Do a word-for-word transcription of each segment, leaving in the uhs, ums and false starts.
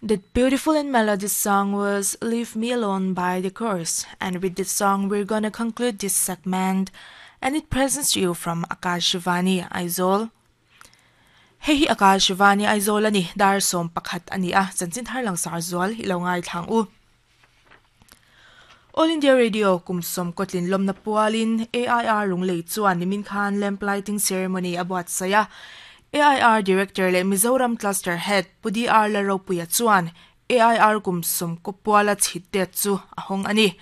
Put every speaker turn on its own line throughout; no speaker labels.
That beautiful and melodious song was Leave Me Alone by The Course. And with this song, we're gonna conclude this segment. And it presents you from Akashvani Aizawl. Hei hi Akashvani Aizawl ani dar som pakhat ani a chanchin thar lang sar zual ilo ngai thlang u. All India Radio kumsom kotlin lomna pualin A I R Lunglei chuan nimin khan lamp lighting ceremony abuat saya. A I R Director le Mizoram Cluster Head Pudi R Laropuya chuan A I R kumsom kopuala chhitte chu ahong ani.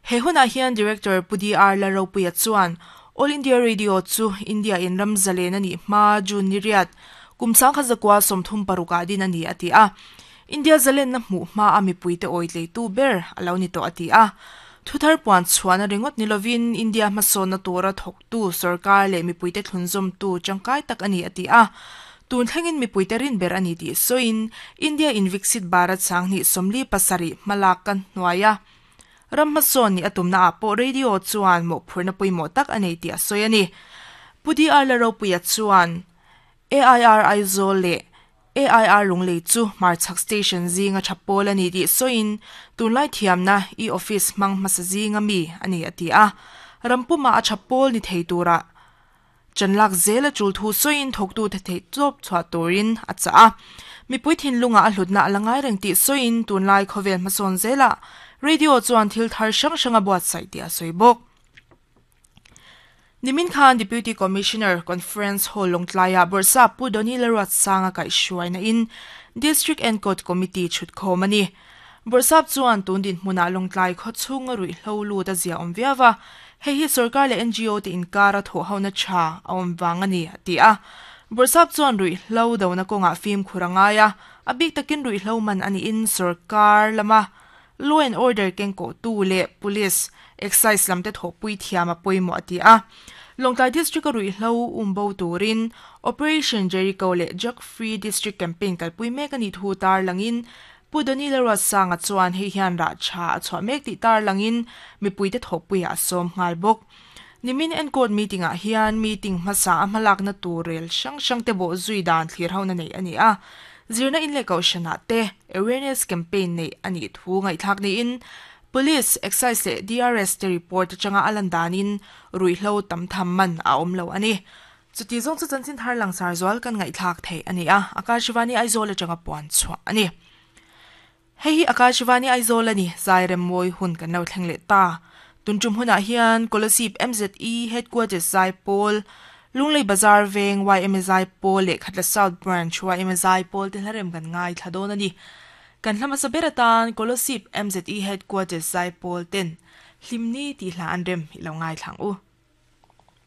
He huna hian Director Pudi R Laropuya chuan All India Radio chu India in ramzalen ani ma June niriat kumsang khazakwa somthum paruka din ani ati a. India zalen na hmu ma ami puite oitlei tu ber alo ni to ati a. Thuthar puan chuan ringot nilovin India hmasawn na tura thawk tu sarkar leh mipuite thlunzawm tu tangkai tak ani ati a. Tun thlengin mipuite rin ber ani tih sawiin India in Viksit Bharat sanghnih sawmli pasarih hmalak kan hnuaia ram hmasawn ni atumna ah pawh radio chuan mawhphurna pawimawh tak a nei tih a sawi ani. Pudi R Laropuia chuan A I R Aizawl leh A I R Lunglei chu Hmarchhak Station zinga thapawl ani tih sawiin tunlai thiamna e-office hmang hmasa zinga mi ani ati a. Rampuma a thapawl ni thei tura chanlak zela chul thu sawiin thawktu the thei chawp chhuah turin a cha a. Mipui thinlunga a hlutna alangai reng tih sawiin tunlai khawvel hmasawn zela radio chuan thil thar hrang hranga buat sai tih a sawi bawk. Nimin Khan Deputy Commissioner Conference Hall Longtlaya Borsa Pu Doni Laruat Sanga kai shuaina in District and Court Committee chhut khomani. Borsap chuan tundin hmuna Longtlai kho chunga rui hlo ta zia om viawa hei hi sarkar le N G O te inkara tho hauna tha awm wangani ati a. Borsap chuan rui hlo do na konga fim khurangaya abik takin rui hlo man ani in sarkar lama law and order keng ko tu le police excise lamte thopui thiama poimo ati a. Longtlai District rui hlo umbo turin Operation Jericho le Drug Free District Campaign kalpui mek ani thu tar langin Pudoni Larwa sanga chuan hei hian ra cha chwa mek ti tar langin mipuite thopui a som ngal bok. Nimin and court meeting a hian meeting hmasa a hmalak na turel sang sang te bo zui dan thlir ho na nei ani a. Zirna in le kaushana te awareness campaign nei ani thu ngai thak ni in police excise le D R S te report changa alan danin rui hlo tam tham man a om lo ani. Chuti zong chu chanchin thar lang sar zwal kan ngai thak thei ani a. Akashvani Aizawl changa puan chwa ani. Hei hi Akashvani Aizawl ani zairem moi hun kan lo thleng le ta. Tuntum huna hian Kolasib M Z E Headquarters Zai Pawl, Lunglei Bazar Veng Y M Zai Pawl le Khatla South Branch Y M Zai Pawl te hlarem kan ngai thladon ani. Kan hlama saberatan Kolasib M Z E Headquarters Zai Pawl ten hlimni ti hla an rem ilo ngai thlang u.